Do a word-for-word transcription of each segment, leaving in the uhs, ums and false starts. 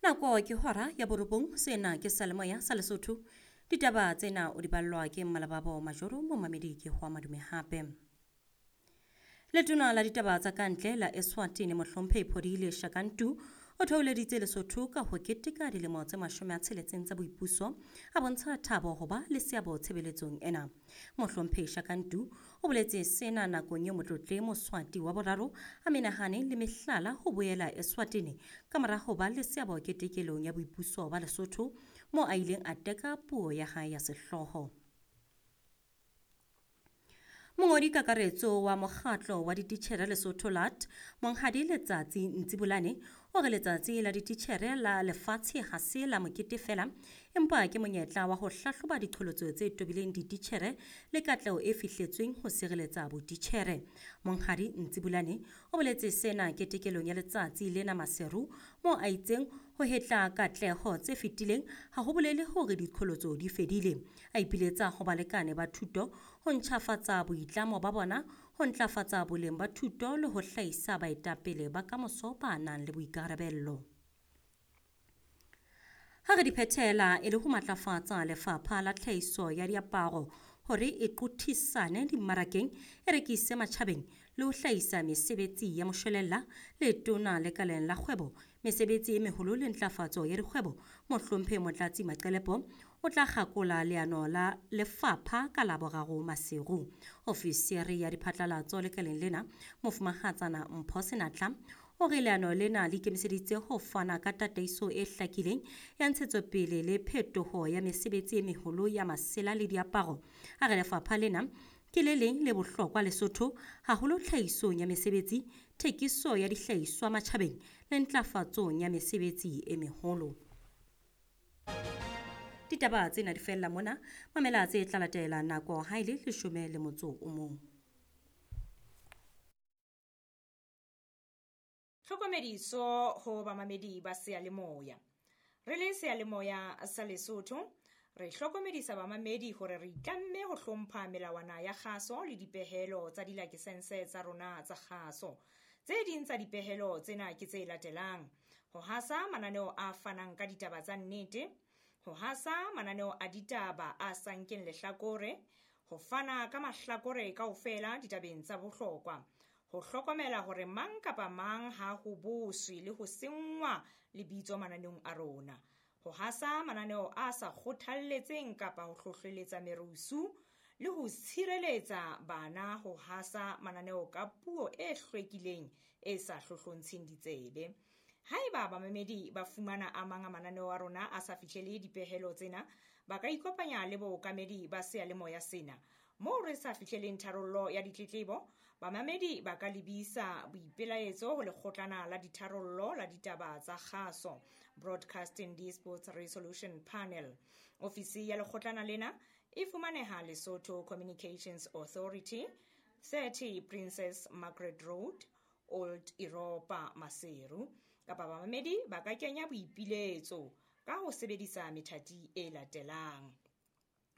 Nako ke hora ya borobong, sena ke Seyalemoya sa Lesotho. Ditaba tsena o di ballwa ke Mmalababo Majoro, momamedi ke hwa madume hape. Letona la ditaba tsa kantle la Eswatini Mohlomphehi Phodile Shakantu o theoleditse Lesotho ka ho keteka dilemo tse mashome a tsheletseng tsa boipuso, a bontsha thabo ho ba le seabo tshebeletsong ena. Mohlomphehi Shakantu o boletse sena nakong eo motlotle Moswati wa boraro a menahane le mehlala ho boela Eswatini ka mora ho ba le seabo ketekelong ya boipuso ba Lesotho, moo a ileng a teka puo ya hae ya sehlooho. Mongodi kakaretso wa mokgatlo wa dititjhere Lesotho L A T, Monghadi Letsatsi Ntsibolane, o re letsatsi la dititjhere la lefatshe ha se la mokete feela, empa ke monyetla wa ho hlahloba diqholotso tse tobileng dititjhere le katleho e fihletsweng ho sireletsa botitjhere. Monghadi Ntsibolane o boletse sena ketekelong ya letsatsi lena Maseru, moo a itseng ho hetla katleho tse fetileng ha ho bolele hore diqholotso di fedile. A ipiletsa ho balekane ba thuto ho ntjhafatsa boitlamo ba bona, ho ntlafatsa boleng ba thuto le ho hlahisa baetapele ba kamoso ba nang le boikarabello. Ha re di phethela e le ho matlafatsa lefapha la tlhahiso ya diaparo hore e qothisane dimmarakeng, e rekise matjhabeng le ho hlahisa mesebetsi ya moshwelella, letona lekaleng la kgwebo, mesebetsi e meholo le ntlafatso ya dikgwebo, Mohlomphehi Motlatsi Maqelepo o tla kgakola leano la lefapha ka Laboraro Maseru. Ofisiri ya diphatlalatso lekaleng lena, Mofumahatsana Mpho Senatla, o re leano lena le ikemiseditse ho fana ka tataiso e hlakileng ya ntshetsopele le phetoho ya mesebetsi e meholo ya masela le diaparo. A re lefapha lena ke le leng le bohlokwa Lesotho, haholo tlhahisong ya mesebetsi, thekiso ya dihlahiswa matjhabeng le ntlafatsong ya mesebetsi e meholo. Ditaba tsena di fella mona, mamela tse tla latela nako ha e le leshome le motso o mong. Tlhokomediso ho bamamedi ba seyalemoya. Re le seyalemoya sa Lesotho, re hlokomedisa bamamedi hore re itlamme ho hlompha melawana ya kgaso le dipehelo tsa dilakesense tsa rona tsa kgaso. Tse ding tsa dipehelo tsena ke tse latelang: ho hasa mananeo a fanang ka ditaba tsa nnete, ho hasa mananeo a ditaba a sa nkeng lehlakore, ho fana ka mahlakore kaofela ditabeng tsa bohlokwa, ho hlokomela hore mang kapa mang ha ho boswe le ho senngwa lebitso mananeong a rona, ho hasa mananeo a sa kgothalletseng kapa ho hlohleletsa merusu, le ho tshireletsa bana ho hasa mananeo ka puo e hlwekileng e sa hlohlontsheng ditsebe. Haeba bamamedi ba fumana a mang a mananeo a rona a sa fihlele dipehelo tsena, ba ka ikopanya le bookamedi ba seyalemoya sena. Moo re sa fihleleng tharollo ya ditletlebo, bamamedi ba ka lebisa boipelaetso ho lekgotlana la ditharollo la ditaba tsa kgaso, Broadcasting Disputes Resolution Panel. Ofisi ya lekgotlana lena e fumaneha Lesotho Communications Authority, thirty Princess Margaret Road, Old Europa, Maseru. Kapa bamamedi ba ka kenya boipiletso ka ho sebedisa methati e latelang: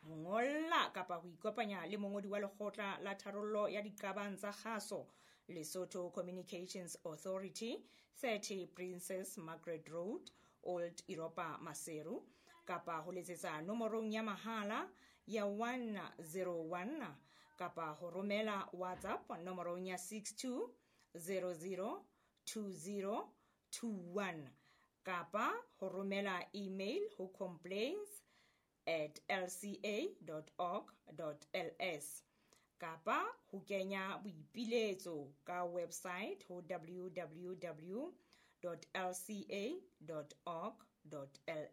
ho ngolla kapa ho ikopanya le mongodi wa lekgotla la tharollo ya diqabang tsa kgaso, Lesotho Communications Authority, thirty Princess Margaret Road, Old Europa, Maseru, kapa ho letsetsa nomorong ya mahala ya one zero one, kapa ho romela WhatsApp nomorong ya six two zero zero two zero two one, kapa ho romela email ho complaints at l c a dot org dot l s, kapa ho kenya boipiletso ka website ho w w w dot l c a dot org dot l